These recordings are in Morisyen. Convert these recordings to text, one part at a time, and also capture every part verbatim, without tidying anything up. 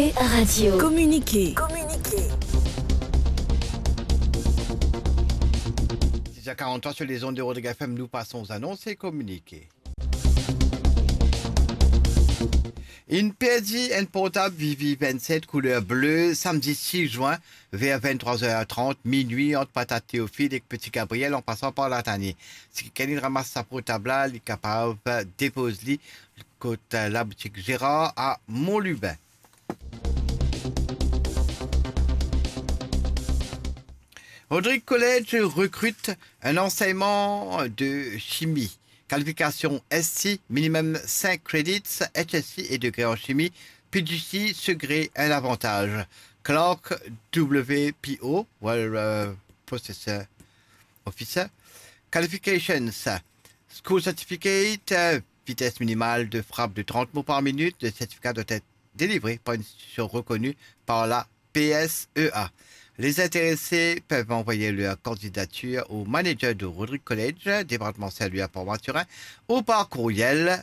Communiqué. Communiqué. Six heures quarante-trois sur les ondes de Rodrigue F M, nous passons aux annonces et communiqués. Inn perdi enn portab Vivi vingt-sept couleur bleu samedi six juin vers vingt-trois heures trente, minuit, ant Patate Théophile ek Petit Gabriel an pasan par Latanie. Si kikenn inn ramas sa portab la, li kapav depoz li kot laboutik Gérard a Montlubin. Rodrigue College recrute un enseignement de chimie. Qualification S C, minimum cinq credits, H S C et degré en chimie, P G C serait un avantage. Clerk W P O, well, euh, processor officer. Qualifications, school certificate, euh, vitesse minimale de frappe de trente mots par minute. Le certificat doit être délivré par une institution reconnue par la P S E A. Les intéressés peuvent envoyer leur candidature au manager de Rodrigue College, département Saint-Louis à Port-Mathurin, ou par courriel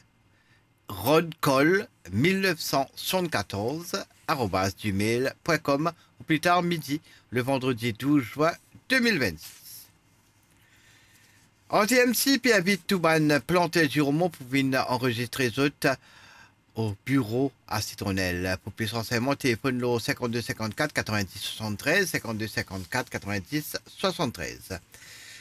rodcoll mille neuf cent soixante-quatorze arobase gmail point com au plus tard midi, le vendredi douze juin deux mille vingt-six. R T M C pe invit tou bann planter ziromon pou vinn anrezistre zot o biro a Sitronel. Pou plis ransegneman, telefonn lor cinquante-deux cinquante-quatre quatre-vingt-dix soixante-treize, cinquante-deux cinquante-quatre quatre-vingt-dix soixante-treize.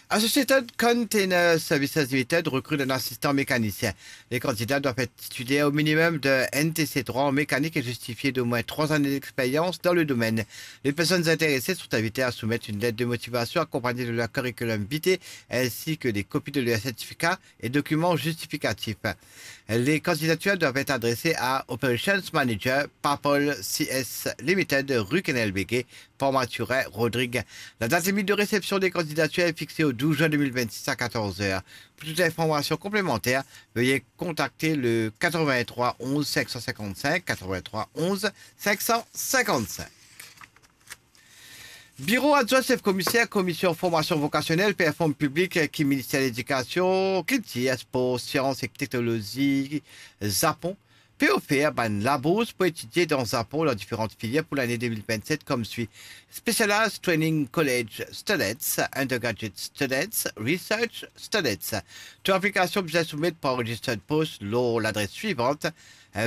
Associated Container Services Limited recrute un assistant mécanicien. Les candidats doivent être titulaires au minimum de N T C trois en mécanique et justifier d'au moins trois années d'expérience dans le domaine. Les personnes intéressées sont invitées à soumettre une lettre de motivation accompagnée de leur curriculum vitae ainsi que des copies de leur certificat et documents justificatifs. Les candidatures doivent être adressées à Operations Manager, Papol C S Limited, rue Kenel Béguet, Port-Mathurin, Rodrigue. La date limite de réception des candidatures est fixée au douze juin deux mille vingt-six à quatorze heures. Pour toute information complémentaire, veuillez contacter le quatre-vingt-trois onze cinq cent cinquante-cinq, quatre-vingt-trois onze cinq cent cinquante-cinq. Biro adwin sef komiser Komisyon Formasyon Vokasyonel pe inform piblik ki Minister Ledikasion, Kiltir, Spor, Sians ek Teknolozi Zapon pe ofer bann labours pou etidie dan Zapon dan diferan filier pou lane de mil vennset, kouma swi: Specialized Training College Students, Undergraduate Students, Research Students. Tou aplikasion bizin soumet par registered post lor ladres swivan: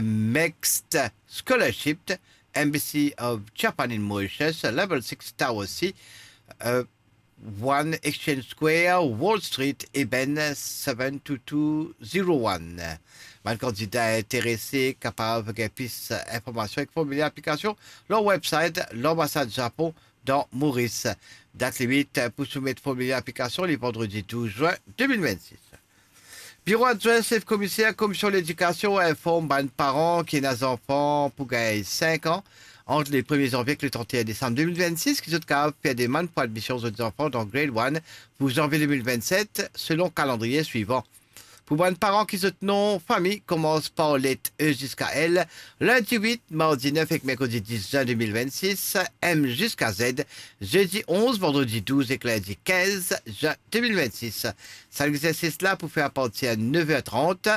Mixed Scholarship, Embassy of Japan in Mauritius, Level six Tower C, uh, one Exchange Square, Wall Street, Eben seven two two zero one. Bann kandida interese kapav gagn plis informasion ek formiler aplikasion lor website Lanbasad Zapon dan Moris. Dat limit pou soumet formiler aplikasion, le vandredi douz zwin de mil vennsis. Biro adwin sef komiser Komisyon Ledikasion inform bann paran ki ena zanfan pou gagn sink an ant le premie zanvie ek le trant-e-enn desam de mil vennsis ki zot kapav fer demann pou admision zot zanfan dan Grade one pou zanvie de mil vennset, selon kalandriye swivan. Pou bann paran ki zot nom fami koumans par let E ziska L, lindi wit, mardi nef ek merkredi dis zwin de mil vennsis, M ziska Z, zedi onz, vandredi douz ek lindi kinz zwin de mil vennsis. Sa legzersis la pou fer apartir nef er trant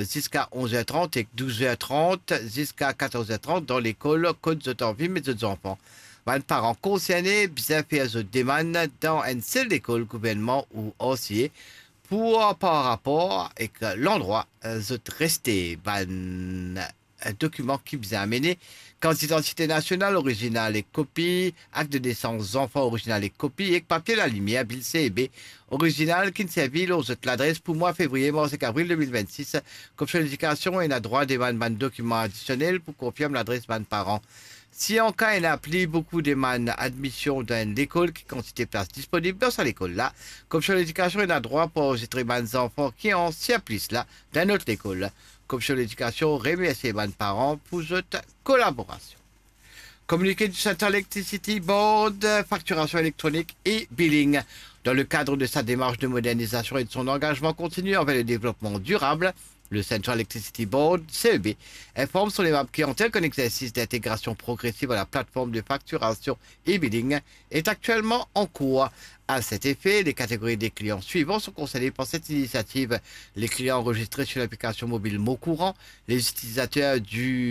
ziska onz er trant ek douz er trant ziska katorz er trant dan lekol kot zot anvi met zot zanfan. Bann paran konserne bizin fer zot demann dan enn sel lekol gouvernman ou R C A pou, par rapor ek landrwa zot reste. Bann dokiman ki bizin amene: kart didantite nasional orizinal ek kopi, akt de nesans zanfan orizinal ek kopi, ek papie lalimier, bil C E B orizinal ki'nn servi lor zot ladres pou mwa fevriye, mars ek avril de mil vennsis. Komisyon Ledikasion ena drwa demann bann dokiman adisionel pou konfirm ladres bann paran. Si anka ena pli boukou demann admision dan enn lekol ki kantite plas disponib dan sa lekol la, Komisyon Ledikasion ena drwa pou anrezister bann zanfan ki ansien plis la dan enn lot lekol. Komisyon Ledikasion remersie bann paran pou zot kolaborasion. Communiqué du Central Electricity Board, facturation électronique et billing. Dans le cadre de sa démarche de modernisation et de son engagement continu envers le développement durable, le Central Electricity Board, C E B, informe son aimable clientèle qu'un exercice d'intégration progressive à la plateforme de facturation e-billing est actuellement en cours. À cet effet, les catégories des clients suivantes sont concernées par cette initiative: les clients enregistrés sur l'application mobile Mon Courant, les utilisateurs du